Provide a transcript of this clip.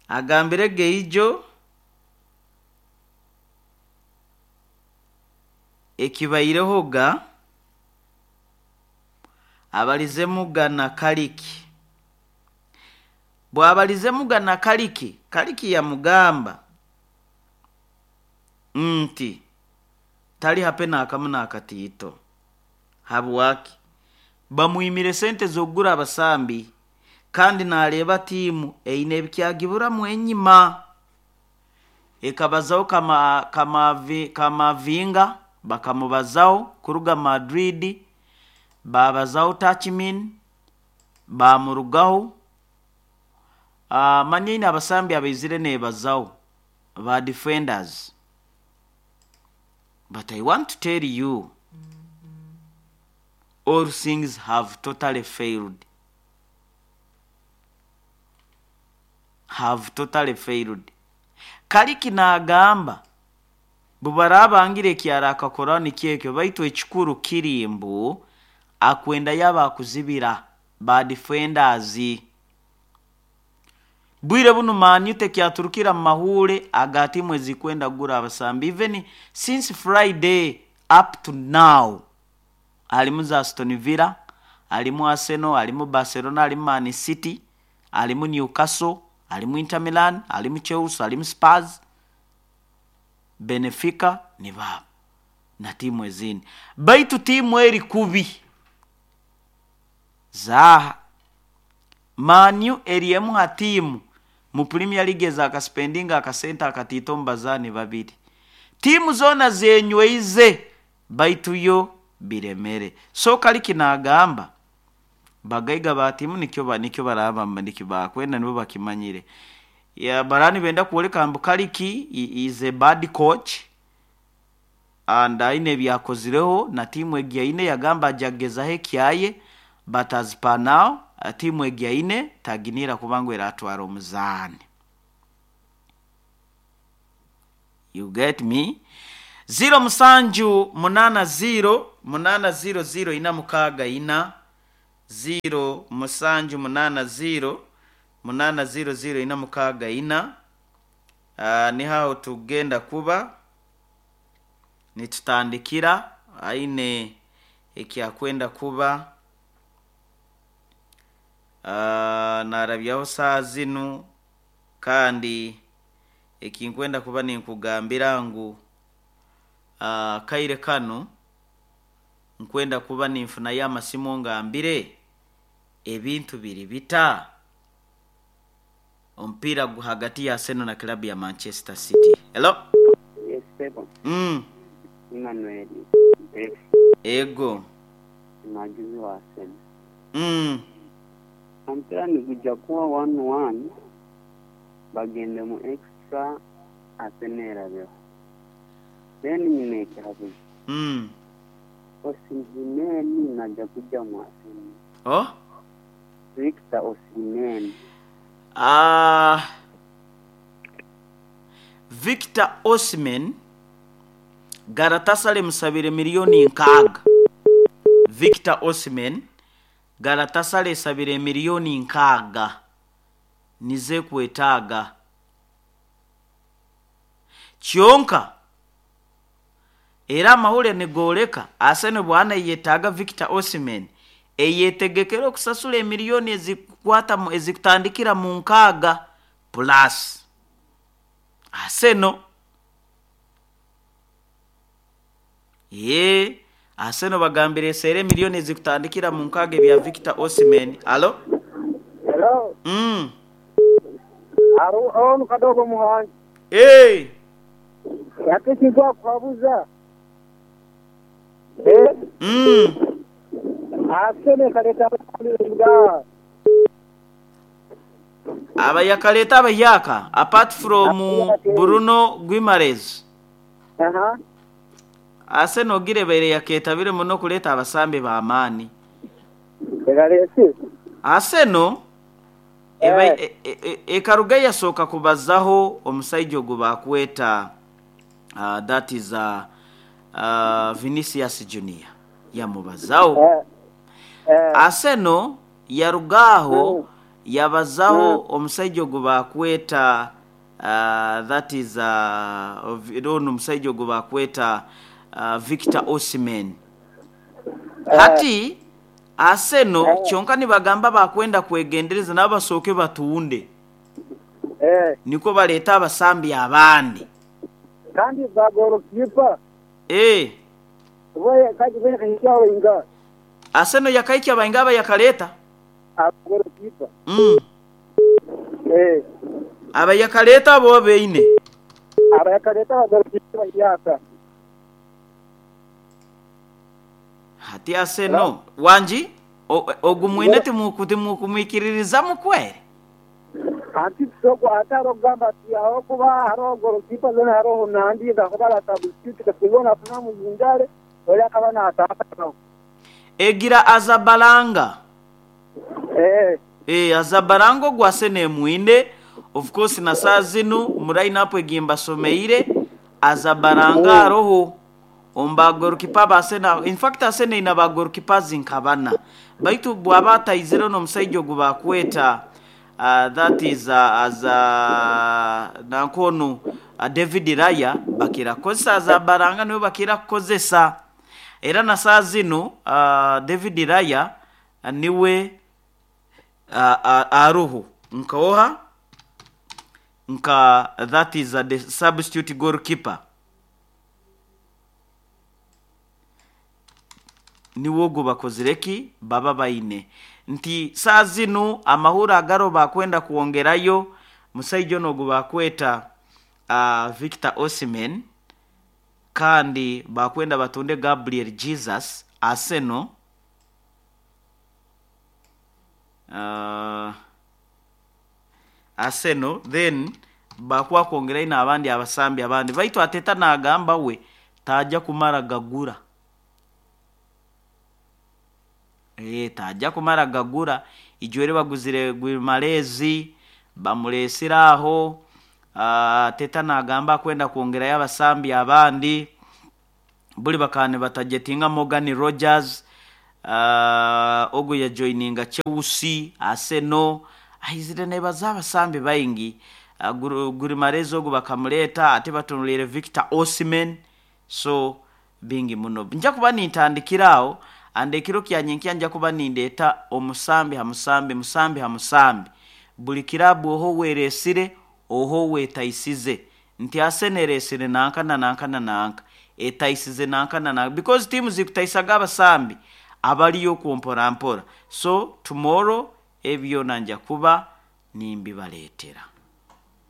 Agambire Geijo ekibairehoga abalizemuga na Kaliki. Bwabalizemuga na Kaliki, Kaliki yamugamba nti tali hape n'akamu n'akatiito. Habwaki? Bamwimire sente z'okugura abasambi kandi nareeba tiimu eine ebikyagiburamu enyima. Ekabazaho Kamavinga bakamubazaho kuruga Madrid, babazaho Tachmin bamurugaho. Manya eine abasambi abaizire nebazaho ba defenders. But I want to tell you all things have totally failed. Have totally failed. Kaliki naagamba bubaraabangire eki arakakoraho nikyo ekyo, baitu ekikuru kiri mbu akwenda yaba akuzibira ba defenders. Bwire bunu Man U tekyaturukira mu mahuure aga tiimu ezikwenda kugura abasambi even since Friday up to now. Harimu za Aston Villa, harimu Arsenal, harimu Barcelona, harimu Man City, harimu Newcastle, harimu Inter Milan, harimu Chelsea, harimu Spurs, Benfica nibaabo na tiimu ezindi. Baitu tiimu eri kubi zaaha. Man U eri emu ha tiimu mu Premier League ezakasipendinga akasente akatiito omu bazaani babiri. Tiimu zoona zenyweize baitu yo biremere. So Kaliki naagamba bagaiga ba tiimu nikyo nikyo baraaba nikyo bakwenda nibo bakimanyire. Ya baraba nibenda kwoleka mbu Kaliki is a bad coach and aine ebyakozireho na tiimu egi aine yagamba aja kugezaho ekyaye, but as per now tiimu egi aine taginiira kuba ngu eratwara omuzaani. You get me? 0 musanju munaana 0 munaana 0 0 ina mukaaga ina 0 musanju munaana 0 munaana 0 0 ina mukaaga ina. Niho aho tugenda kuba nitutandikira aine ekyakwenda kuba narabyaho saaha zinu, kandi ekinkwenda kuba ninkugambira ngu akaire kanu nkwenda kuba ninfunayo amasimu ongambire ebintu biri bita omupiira hagati ya Arsenal na club ya Manchester City. Hello? Yes sebo. Emmanuel Mpefu. Ego. Omuhagizi wa Arsenal. Omupiira nigugya kuba 1-1 bagende mu extra Arsenal erabeho. Then nyine ekihabuzo. Osimhen naija kugya mu Arsenal. Oh? Victor Osimhen. Victor Osimhen, Galatasaray emusabire miliyoni nkaaga. Victor Osimhen, Galatasaray esabire miliyoni nkaaga nizo ekwetaaga. Kyonka era amahurire nigooreka Arsenal bwana eyetaaga Victor Osimhen eyetegekere okusasura emiliyoni ezikukwata ezikutandikira mu nkaaga plus. Arsenal ee Arsenal bagambire eseere emiliyoni ezikutandikira mu nkaaga ebya Victor Osimhen. Halo? Hello. Onu Kadogo Muhangi. Ee. Ate ekintu akuhabuza. Arsenal ekaleta abakulinga. Aba yakaleta abahyaka apart from Bruno Guimaraes. Arsenal ogirebaire yaketabire muno okuleeta abasambi b'amaani. Ekalesire. Arsenal ekaruga yasooka kubazaho omusaija ogu bakweta that is Vinicius Junior yamubazaho. Arsenal yaruga aho. Yabazaho omusaija ogu bakweta, that is, ono omusaija ogu bakweta Victor Osimhen. Hati Arsenal kyonka nibagamba bakwenda kwegendereza nabo basooke batunde nikwo baleete abasambi abandi. Kandi ba goolokipa bo yakahikyaho baingaha? Arsenal yakaikya baingaha abayakaleeta? Aba goolokipa. Abayakaleeta abo baine. Abayakaleeta aba goolokipa bahyaka. Hati Arsenal, wangi? Ogu mwine timukumwikiririzamu kweri? Anti tusobola ate haroho okugamba ati ahabw'okuba haroho goolokipa zoona haroho nandi ahakuba arasabusitiyutinga singa onu afuna omu injale ori akaba naataaha nawe. Egira Azabalanga. Eeh Azabalanga ogu Arsenal emwine, of course na saaha zinu mu line up egi mbasomeire Azabalanga aroho. Omu ba gorikipa ba Arsenal, in fact Arsenal eine ba gorikipazi nka bana baitu bwaba ataizire n'omusaija ogu bakweta that is as nanka onu David Raya bakira kukozesa Azabaranga niwe bakira kukozesa era na saaha zinu David Raya niwe aroho nka oha nka that is the substitute goalkeeper. Niwe ogwo bakozire ki? Baba baine. Nti saaha zinu amahurre agariho baakwenda kwongerayo musaija onu ogu baakweta Victor Osimhen kandi baakwenda batunde Gabriel Jesus, Arsenal. Arsenal then baakuba kwongerayo n'abandi abasambi abandi baitu Arteta naagamba we taija kumara gagura. Eeh taija kumara gagura. Ijweri baguzire Guimarães bamureesire aho, Arteta naagamba akwenda kwongerayo abasambi abandi. Buri bakaba nibatagetinga Morgan Rogers, ogu yajoininga Chelsea, Arsenal, aizire neebaza abasambi baingi. Guimarães ogu bakamureeta, ate batunuliire Victor Osimhen, so bingi muno. Nja kuba nintandikira aho, and ekiro kya nyenkya nja kuba nindeeta omusambi ha musambi, musambi ha musambi. Buri kiraabu oha ou ereesire, oha ou etaisize. Nti Arsenal ereesire nanka na nanka na nanka, etaisize nanka na nanka because tiimu zikutaisaga abasambi abariyo okwo mpora mpora. So tomorrow ebi byona nja kuba nimbibareetera.